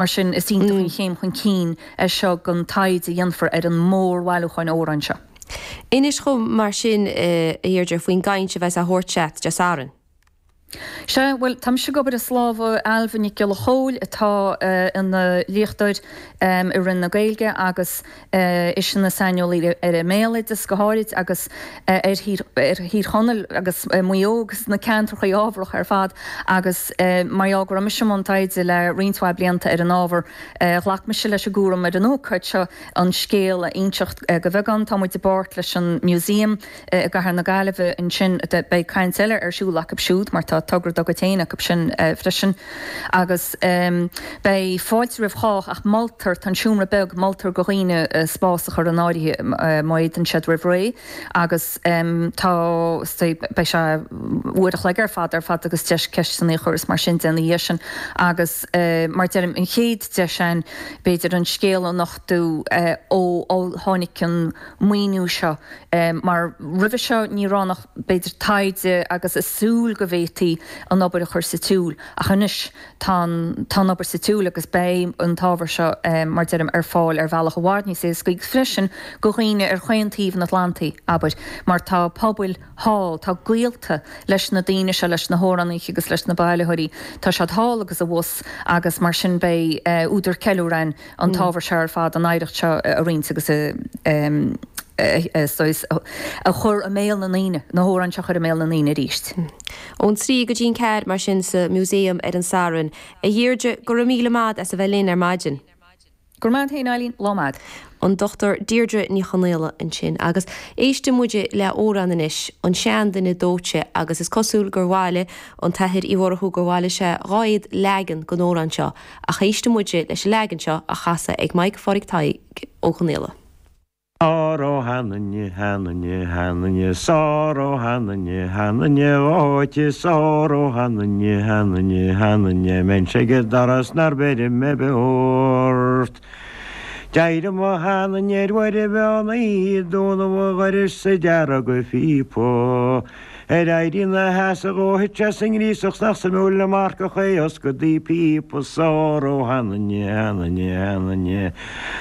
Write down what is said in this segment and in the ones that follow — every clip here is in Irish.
Mar sin, is iontach an chéim chun cinn é seo don taighde a dhéanfar ar an mórbhailiúchán amhrán seo. Inis dhom mar sin, a Dheirdre, faoin gcaint a bheas á thabhairt agat Dé Sathairn. Sea, bhuel, tá mise ag obair as lámha Ailbhe Nic Giolla Chóill atá ina léachtóir i Roinn na Gaeilge agus ise ina saineolaí ar an mbéaloideas go háirid agus ar Thír Chonaill agus Maigh Eo agus na ceantracha ábharacha ar fad agus mar gheall go raibh mise i mbun taighde le roinnt mhaith blianta ar an ábhar, ghlac mise leis an gcúram ar an ócáid seo an scéal a inseacht de bheagán. Tá muid i bpáirt leis an Museum i gCathair na Gaillimhe ansin. Beidh caint eile ar siúl acu siúd mar tá togra dá gcuid féin acu sin freisin. Agus beidh fáilte roimh chách ach moltar, tá an seomra beag, moltar do dhaoine spás a chur in áirithe má fhéadann siad roimh ré agus tá, beidh sé uair a chloig ar fad ar fad agus deis ceisteanna a chur is mar sin de ina dhiaidh sin. Agus mar deirim, an chéad deis ann b'fhéidir an scéal a nochtadh ó tháinig an maoiniú seo mar roimhe seo ní raibh ann ach b'fhéidir taighde agus a súil go bhféadfaí an obair a chur sa tsiúl ach anois tá an tá an obair sa tsiúl agus beidh an t-ábhar seo mar deirim ar fáil ar bhealach i bhfad níos éascaí freisin do dhaoine ar chaon taobh an Atlantaigh abair mar tá pobail thall, tá gaolta leis na daoine seo, leis na hamhránaithe agus leis na bailitheoirí, tá siad thall agus abhus agus mar sin beidh údar ceiliúradh ann. an t-ábhar seo ar fad, an oidhreacht seo a roinnt agus a a chur i mbéal na ndaoine, na hamhráin seo a chur i mbéal na ndaoine arís. Ón 3 go dtí an 4 mar sin sa Museum ar an Satharn. A Dheirdre, go raibh míle maith as a bheith linn ar maidin. Go raibh maith agat féin, Eileen. Lá maith. An Dr Deirdre Ní Chonaola ansin. Agus éistfidh muid le amhrán anois, An Seanduine Dóite, agus is cosúil gur bhailigh an tAthair Uí Mhurchú gur bhailigh sé 200 leagan den amhrán seo Ach éistfidh muid leis an leagan seo á chasadh ag Mike Phádraig Thaidhg Ó Conaola. Sár ó sheanduine, sheanduine, sheanduine, sár ó sheanduine, sheanduine dhóite, sár ó sheanduine, sheanduine, sheanduine, mbeinnse ag an doras nár bheir mé beo ort. D'éirigh mo sheanduine ar uair an mheán oíche, dúnadh an dhorais 's ag dearg a phíopa. Ar éirí ina sheasamh dhó thit sé sa ngríosach 's nach suimiúil an marcach é fhoscadh píopa Sár ó sheanduine, sheanduine, sheanduine,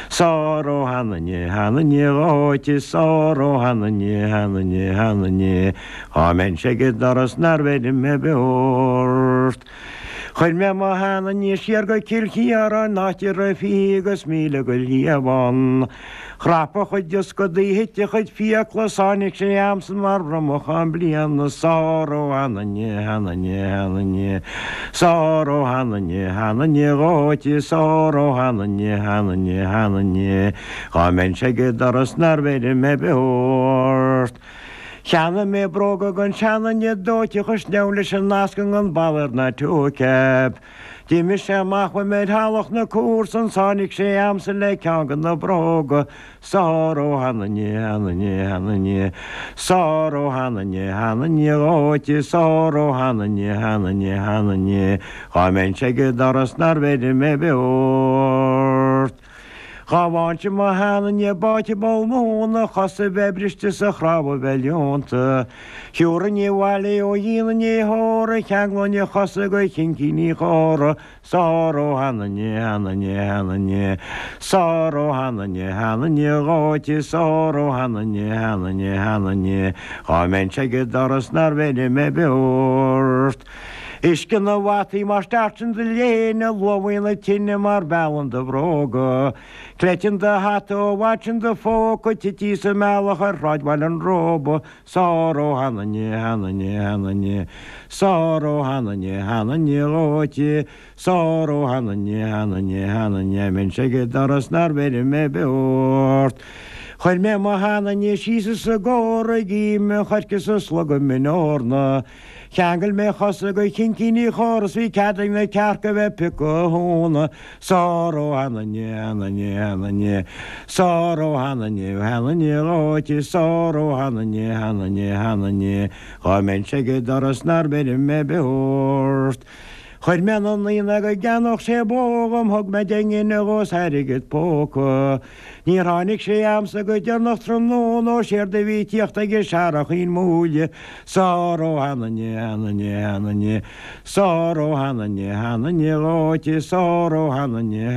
Sár ó sheanduine, sheanduine dhóite, Sár ó sheanduine, sheanduine, sheanduine, Dhá mbeinnse ag an doras nár bheir mé beo ort. Chuir mé mo sheanduine siar go Cill Chiaráin áit a raibh 20 agus 1000 go liamhán. Chrap a chuid ioscadaí, thit a chuid fiacla 's tháinig sé a'msan mar bhromachán bliana Sár ó sheanduine, sheanduine, sheanduine, Sár ó sheanduine, sheanduine dhóite, Sár ó sheanduine, sheanduine, sheanduine, Dhá mbeinnse ag an doras nár bheir mé beo ort. Cheannaigh mé bróga don seanduine dóite a chuir sneabhail leis an nasc an Balor ná toe cap. D'imigh sé amach uaim ar theallach na comharsan 's tháinig sé a'msa le ceann de na bróga Sár ó sheanduine, sheanduine, sheanduine, Sár ó sheanduine, sheanduine dhóite, Sár ó sheanduine, sheanduine, sheanduine, Dhá mbeinnse ag an doras nár bheir mé beo ort. Dhá bhfaighinnse mo sheanduine báite i bpoll móna, a chosa a bheith briste 's a chnámha a bheith leonta. Thiúrfainn abhaile é ó dhíon an fhéitheora, cheanglóinn a chosa go chincíní chóra, Sár ó sheanduine, sheanduine, sheanduine, Sár ó sheanduine, sheanduine dhóite, Sár ó sheanduine, sheanduine, sheanduine, Dhá mbeinnse ag an doras nár bheir mé beo ort. Uisce na bhfataí mar stairteann do léine, luamhaíonn na tine mar mheallann do bhróga. Cleiteann do hata ó bhfad sin do phóca, tití sa mbealach ar Shráid Bhaile an Róba, Sár ó sheanduine, sheanduine, sheanduine, Sár ó sheanduine, sheanduine dhóite, Sár ó sheanduine, sheanduine, sheanduine, mbeinnse ag an doras nár bheir mé beo ort. Chuir mé mo sheanduine síos as an gcóra ag ime an choirce 's ag slogadh min eorna. Cheangail mé a chosa go chincíní chóra 's bhí cead ag na cearca bheith piocadh a thóna. Sár ó sheanduine, sheanduine, sheanduine, Sár ó sheanduine, sheanduine dhóite, Sár ó sheanduine, sheanduine, sheanduine, Dhá mbeinnse ag an doras nár bheir mé beo ort. Chuir mé anonn é go gceannódh sé bó dhom, thug mé 10 ngine dhó 's airgead póca. Níor tháinig sé a'msa go deireanach tráthnóna ó séard a bhí tíocht aige searrachín múille. Sár ó sheanainne, sheanainne, sheanainne, Sár ó sheanainne, sheanainne dhóite, sár ó sheanainne.